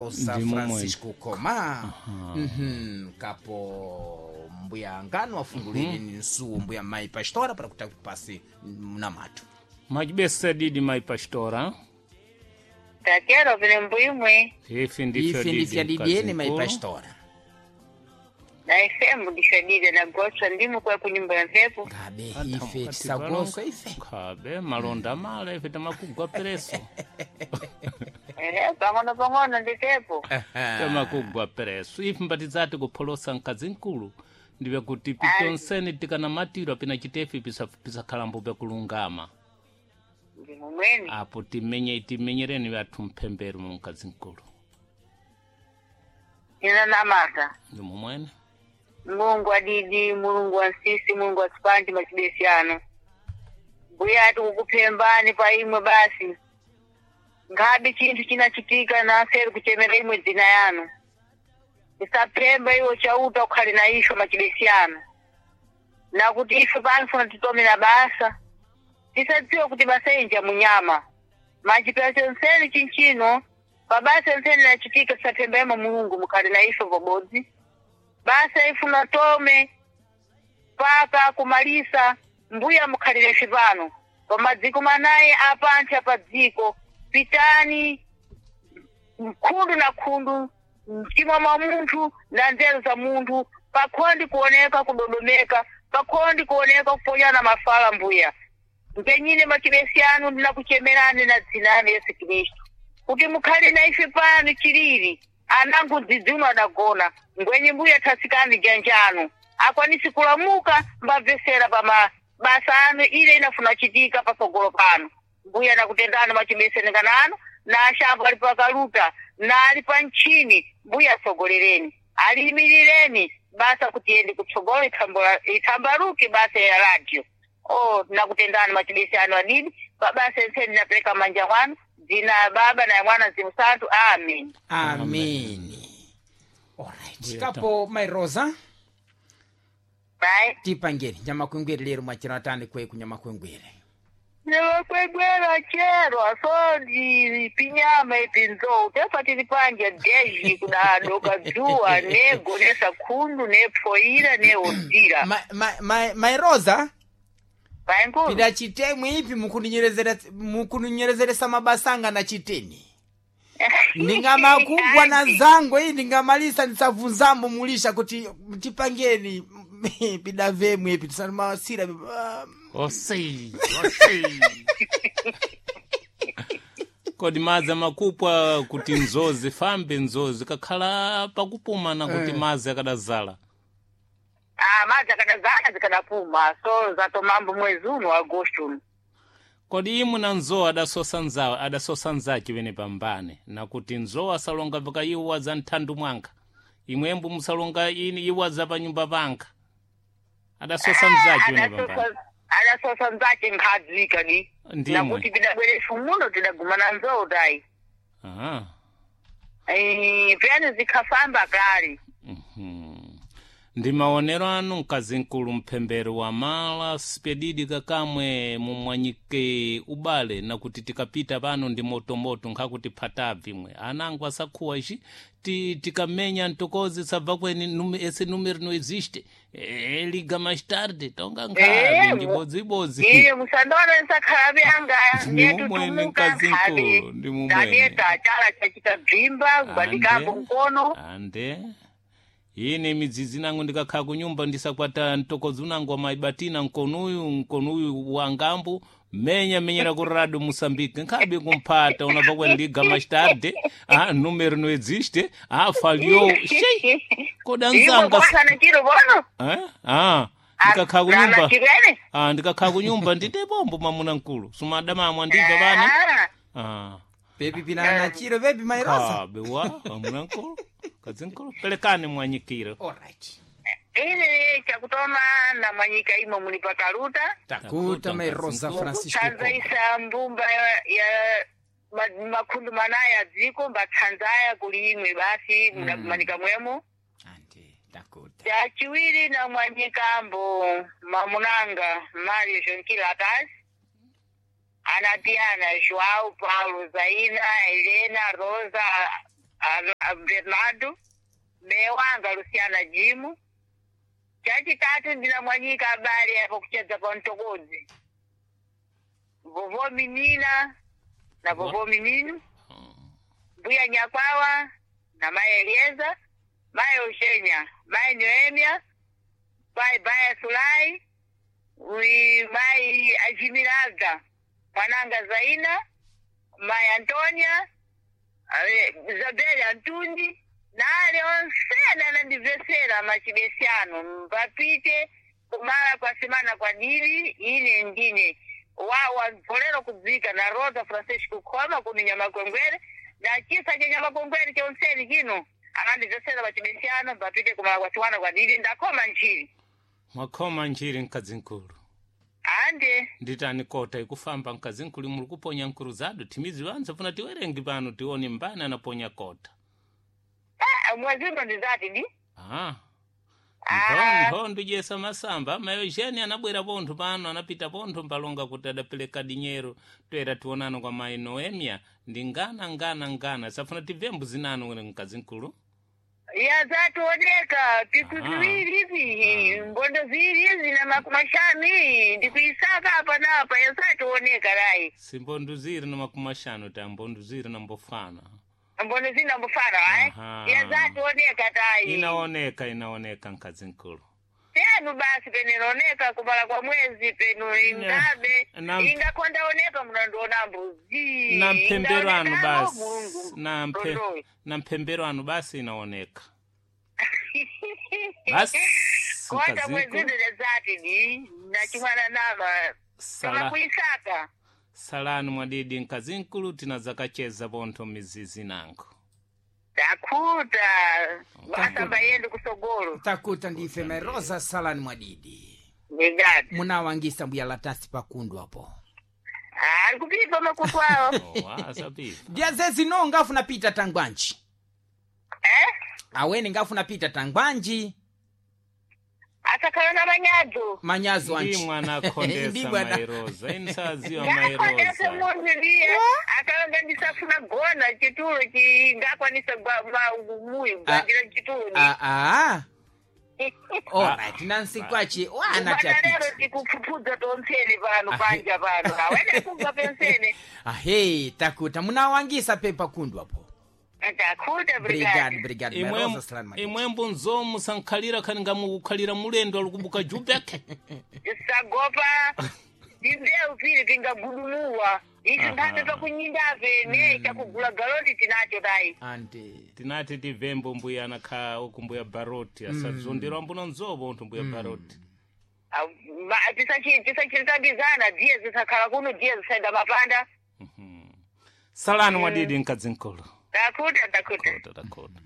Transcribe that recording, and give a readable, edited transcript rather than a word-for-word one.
Rosa Ndi momwe. Francisco Koma. Kapo mbuya ngano afungulire ni nsuwo mbuya mai pastora para kuti pasi mnamato. Majibesa didi mai pastora. Tatero vile mbwimwe Ife ndifyo Ife ndifya didi didieni mai mkazi mkulu. pastora. Na ifembu ndishadida na goswa ndimu kwa kunyumba ya mphepo. Ngabe Ata ife mukati tisagoswa ife. Khabe malonda mala ife tamakugwa pereso. Ehe, pang'ono pang'ono nditepo. Tamakugwa pereso. Ife mbatizati kupholosa mkazi mkulu. Ndive kuti pitonseni tikanamatira pina chitefi pisakhalambo pyakulungama. Ndimumweni. Apo timenye timenyereni vathu mphembero mu mkazi mkulu. Ina namata. Ndi momwene. Mulungu adidi, Mulungu wa nsisi, Mulungu wa sipanji machibesi ano. Mbuya ati kukuphembani pa imwe basi. Ngabe chinthu chinachitika naseri kuchemera imwe dzina yanu. Tisaphemba iwo chauta ukhale na isho machibesi ano. Nakuti ife pano funa titomera basa. Tisadziwa kuti basa inja munyama. Machipera chonseni chinchino, pabasa nseni nachitika tisaphemba imwe Mulungu mukhale na isho pabodzi. Basa ifuna tome paka kumalisa mbuya mukhalire pano pamadziko manayi apantha pa dziko pitani mkhundu na khundu mtima mwa munthu na nzeru za munthu pakhondi kuoneka kudodomeka pakhondi kuoneka kuponyana mafala mbuya mpenyine machibesi anu ndinakuchemerani na dzina anu Yesu Khristu kuti mukhale na ife pano chilili anangu dzidziuno adagona ngwenye mbuya thasikani janjanu akwanisi kulamuka mbabvesera pa mabasa anu ile inafuna chitika patsogolo pano mbuya nakutendani machibesenekana anu na ashambo ali pakaluta na ali pa ntchini mbuya atsogolereni aliyimirireni basa kuti iyende kutsogolo ithambaluke basa ya radio. Oh, nakutendani machibesi anu adidi pabasa enseni napereka manja kwanu dzina ya baba na ya mwana mzimu santu amen. Ameni. Alright. Mbuya Kapo mai Rosa Bye. tipangeni nyamakwengwere lero mwachira atani kwe kunyamakwengwere. Navakwegwera chero asondi pinyama ipi nzou tefa tili panja deji kudadoka dzuwa nego nesakhundu nepfoira neozira Mai Rosa paenkulu pida chitemwe ipi mukuninyereseresa mabasa anga na chiteni. Ndingamakugwa na zango iyi ndingamalisa ndisabvunzambo mulisha kuti tipangeni pida vemwe ipi tisamasira. Osei, osei. Kodi madzi amakupwa kuti nzozi fambe nzozi kakhala pakupumana kuti madzi akadazala. Ah, madzi akadazala zikadapuma so zatomambo mwezi uno wa agosto uno. Kodi imwe na nzowa adasosa nzawo adasosa nzace wene pambane nakuti nzowa asalonga vika iwo za nthandu mwanka imwembo musalonga ini iwo za panyumba panka adasosa nzace wene pambane. Adasosa nzace nkhadzika di Ndimwe. nakuti pidabwerefu muno tidagumana nzou tayi. Aha. Eh, piyani zikhafamba kale. Ndi maonero anu mkazi mkulu mphembero wa mala sipedidi kakamwe mumwanyike ubale nakuti tikapita pano ndi motomoto nkhakuti phatabvi imwe anangu asakhuwa ici tikamenya ntokozi sabva kweni ese numero no existe e, liga mais tarde tonga nkhavi Eh, ndibodzibodzi iye musandoona nsakhalabe anga Ndi mumwene mkazi mkulu, ndi mumwene. daneta chala chachita bvimba gwadikambo mkono. Ande ine midzidzi nangu ndikakhala kunyumba ndisakwata mtokozi unangu wa maibatina mkonuyu mkonuyu wa ngambu menya menyera ku radio Moçambique nkhabe kumphata unabva kweni liga mais tarde ah, número no existe ah, falhou shei koda imwe nzanga kwasana chiro bono eh? ah, ndikakhala kunyumba chirene ah, ndikakhala kunyumba nditepombo mwamuna mkulu sumadamamwa ndibva vane ah. Pepi pina na chiro pepi mai Rosa. Khabe wa mwamuna mkulu kadzi mkulu pelekani mwanyikiro. Alright. ine chakutoma na mwanyika imwe muli pakaluta Takuta mai Rosa Francisco Koma. kutsanzaisa mbumba ya makhundu manaya adziko mbatsanzaya kuli imwe basi mudakumanika mwemo. Ande takuta. Chachiwiri na mwanyikambo mamunanga Mario Jonkila Atasi anatiana Joao Paulo Zaina Helena Rosa Bernardo, me wanga Luciana Jimu. Chachitatu ndinamwanyika abale apo kuchedza pa Mtokodzi. Vovo minina na vovo mininu, mbuya Nyakwawa na mai Elieza, mai Ushenya, mai Noemia, pai Baya Sulai, wi mai Ajimiraga, mwananga Zaina, mai Antonia, Zabeli Antundi, na ali onse anandibvesera machibesiano mbapite kumala kwa semana kwa dili ine ndine wawa mvolero kudzika na Rosa Francisco Khoma kuni Nyamakwengwere na chisa cha Nyamakwengwere chonseni chino anandibvesera machibesiano mbapite kumala kwa chiwana kwa dili ndakhoma nchili Mwakhoma nchiri mkazinkulu. ande Nditani kota ikufamba mkazinkulu muli kuponya nkulu zadu timizi wanza funa tiwerengi pano tione mbani anaponya kota. Mwezi uno ndizati di Ah. Ah. Nthondo jesa masamba mayo jeni anabwera pontho pano anapita pontho mpalonga kuti adapereka dinyero toera tionano kwa mayi Noemia ndi ngana ngana ngana safuna tibve mbuzi nanu wene mkazinkulu. Yazationeka piku Aha. ziwiri izi mbondo ziwiri izi na makumashanu ndikuisaka apa na apa yazationeka rai Simbondo ziri na 50 ta mbondo ziri na mbofana. mbondo zina mbufana ai Aha. yazationeka tai Inaoneka inaoneka mkazinkulu. penu basi peninaoneka kumala kwa mwezi penu ingabe ingakondaoneka munandiona mbuzi Na mphembero anu Ingaonekamo, basi Mulungu na mpe, Ndondowe. na mphembero anu basi inaoneka basi Kota mwezi mkazinkulu. ndezati ni nachimwana nama Sala. kuisaka Salani mwadidi mkazinkulu tinazakacheza pontho mizizi nango. Takuta masamba yende kusogolo Takuta ndife mai Rosa Salani mwadidi. ndingati Munawangisa mbuya latasi pakundu apo. Ali kupipa makutu awo. Oh, asapipa. Ndiazezi no ngafuna pita tangwanji. Eh? Awene ngafuna pita tangwanji. Asakhala na manyadzo. Manyazo Ndi anji. mwana Ndi akhondesa mwana. mairoza inisaziwa Ngakhondese mairoza. munthu ndiye akalonga ndisafuna gona chitulo chingakwanisa muyu gwandira chitulo Ah ah. Alright, nansi kwachi wana lero chapita. tikupfupfudza tonseni pano panja pano awene kubva penseni. Ahe, takuta munawangisa pepa kundu apo. Takuta Brigade, brigade. brigade, mai Rosa Salani mwadidi. Imwembo nzomu sankhalira khani ngamukukhalira mulendo alikubuka jubek. Tisagopa timbewu pili tingagudumuwa isu nthambi pakunyindape ne chakugula galoti tinacho tayi. Ande. Tinati tivembo mbuya anakha uku mbuya baroti asazonderwa mbuno nzobo unthu mbuya baroti. Tisachitambizana diye zisakhala kuno diye zisaenda mapanda. Salani mwadidi mkazinkulu. Takuta takuta. Kota takota.